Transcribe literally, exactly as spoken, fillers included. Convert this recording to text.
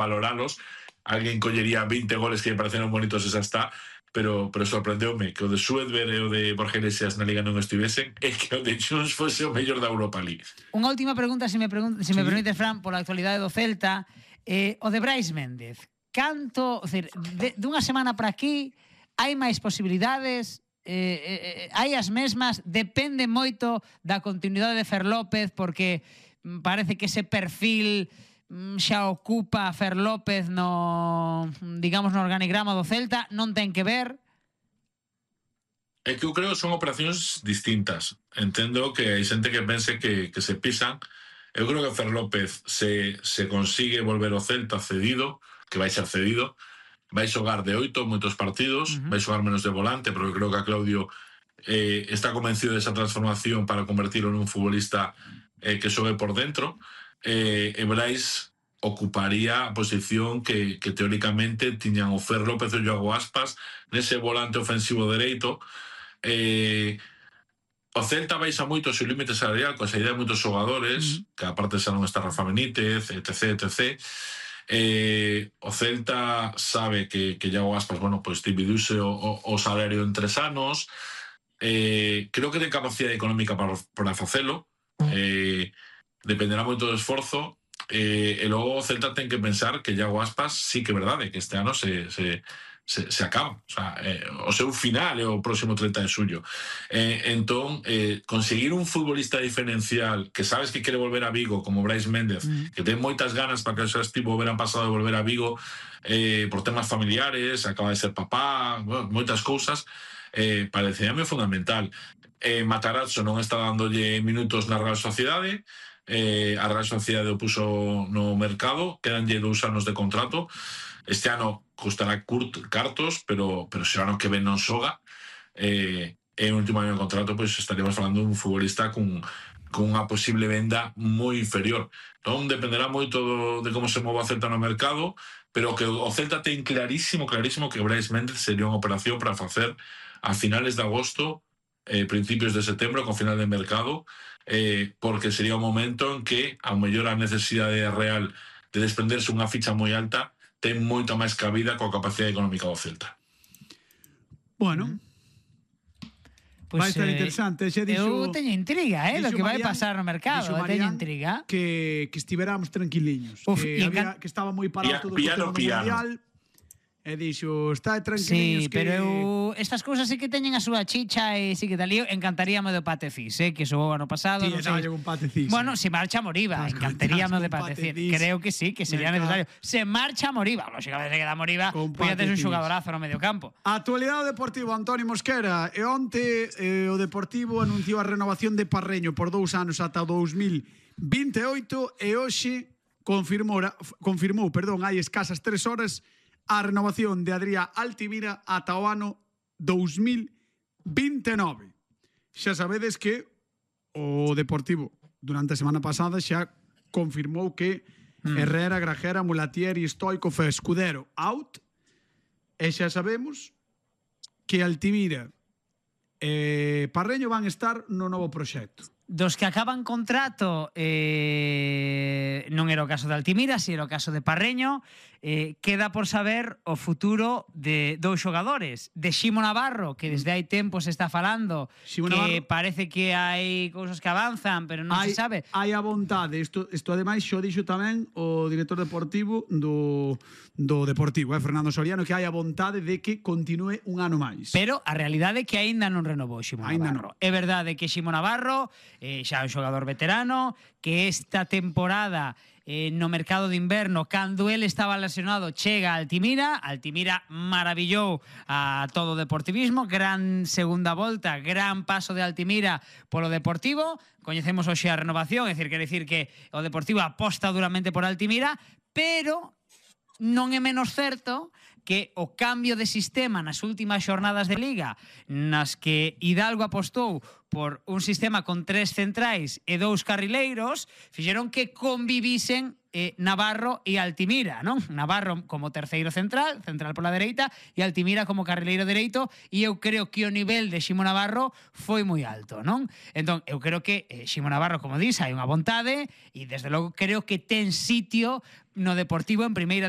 valoralos. Alguén collería veinte goles que me pareceron bonitos e xa está, pero, pero sorprendeume que o de Suedberg e o de Borja Iglesias na Liga non estivesen e que o de Junts fose o mellor da Europa League. Unha última pregunta, se me, pregun se me sí. permites, Fran, pola actualidade do Celta. Eh, o de Brais Méndez, canto, decir, de, dunha semana para aquí, hai máis posibilidades, eh, eh, hai as mesmas, depende moito da continuidade de Fer López, porque parece que ese perfil xa ocupa Fer López no, digamos, no organigrama do Celta, non ten que ver? É que eu creo que son operacións distintas. Entendo que hai xente que pense que, que se pisan. Eu creo que Fer López se, se consigue volver ao Celta cedido, que vai ser cedido, vai xogar de oito moitos partidos, uh-huh. vai xogar menos de volante, porque creo que a Claudio eh, está convencido desa transformación para convertirlo nun futbolista eh, que xogue por dentro. Eh, e Brais ocuparía a posición que, que teóricamente tiñan o Fer López e o Iago Aspas nese volante ofensivo dereito. Eh, o Celta baixa moito o seu límite salarial coa saída de moitos xogadores, mm. que aparte xa non está Rafa Benítez, etc, etc. Eh, o Celta sabe que, que Iago Aspas, bueno, pues dividiuse o, o, o salario en tres anos. Eh, creo que ten capacidade económica para, para facelo. Eh, dependerá moito do esforzo. Eh, e logo o Celta ten que pensar que Iago Aspas sí que é verdade que este ano se, se, se, se acaba, o sea, eh, o seu final é o próximo trinta de xullo. Eh, entón, eh, conseguir un futbolista diferencial que sabes que quere volver a Vigo como Brais Méndez, mm. que ten moitas ganas para que xa estivo o verán pasado de volver a Vigo eh, por temas familiares, acaba de ser papá, bueno, moitas cousas, eh, parecíame fundamental. Eh, Matarazzo non está dándolle minutos na Real Sociedade. Eh, a Real Sociedade o puso no mercado, quedanlle dous anos de contrato. Este ano costará curt, cartos, pero, pero se o ano que ven non xoga, eh, e o último ano de contrato, pois pues, estaríamos falando dun futbolista con, con unha posible venda moi inferior. Entón dependerá moito do, de como se mova o Celta no mercado, pero que o Celta ten clarísimo, clarísimo que Brais Méndez sería unha operación para facer a finales de agosto, eh, principios de setembro, con final de mercado, eh, porque sería un momento en que ao mellor a necesidade real de desprenderse unha ficha moi alta ten moita máis cabida coa capacidade económica do Celta. Bueno, pues, vai estar eh, interesante. Xe dixo, eu teño intriga, eh, do que vai pasar no mercado. Teño intriga. Que, que estiveramos tranquiliños. Uf, que, había, que estaba moi parado todo o tema mundial. E dixo, está tranquiliños. Sí, que... pero eu, estas cousas sí que teñen a súa chicha e sí que tal, eu encantaríame do Patecís, eh, que xo ano pasado. Sí, non sei. Un Patecís. Bueno, se marcha Moriba, Las encantaríame de Patecís. Creo que sí, que sería necesario. Se marcha Moriba, lógicamente se queda Moriba, pois tes un xogadorazo no medio campo. Actualidade Deportivo, Antonio Mosquera. E onte eh, o Deportivo anunciou a renovación de Parreño por dous anos ata dous mil vinte e oito e hoxe confirmou, confirmou, perdón, hai escasas tres horas a renovación de Adrián Altimira ata o ano dous mil vinte e nove. Xa sabedes que o Deportivo durante a semana pasada xa confirmou que mm. Herrera, Grajera, Mulatieri, Stoikov e Escudero out, e xa sabemos que Altimira e Parreño van estar no novo proxecto. Dos que acaban contrato, eh, non era o caso de Altimira, si era o caso de Parreño. Eh, queda por saber o futuro de dous xogadores, de Ximo Navarro, que desde hai tempo se está falando, Ximo que Navarro, parece que hai cousas que avanzan, pero non hai, se sabe. Hai a vontade, isto, isto ademais xo dixo tamén o director deportivo do, do Deportivo, eh, Fernando Soriano, que hai a vontade de que continue un ano máis. Pero a realidade é que aínda non renovou Ximo Navarro. No. É verdade que Ximo Navarro eh, xa é un xogador veterano, que esta temporada eh, no mercado de inverno, cando ele estaba lesionado, chega a Altimira. Altimira maravillou a todo o deportivismo, gran segunda volta, gran paso de Altimira polo Deportivo. Coñecemos hoxe a renovación, é dicir, quer dicir que o Deportivo aposta duramente por Altimira, pero non é menos certo que o cambio de sistema nas últimas xornadas de Liga, nas que Hidalgo apostou por un sistema con tres centrais e dous carrileiros, fixeron que convivisen eh, Navarro e Altimira, non? Navarro como terceiro central, central pola dereita, e Altimira como carrileiro dereito, e eu creo que o nivel de Ximo Navarro foi moi alto, non? Entón, eu creo que eh, Ximo Navarro, como dis, hai unha vontade, e desde logo creo que ten sitio no Deportivo en primeira división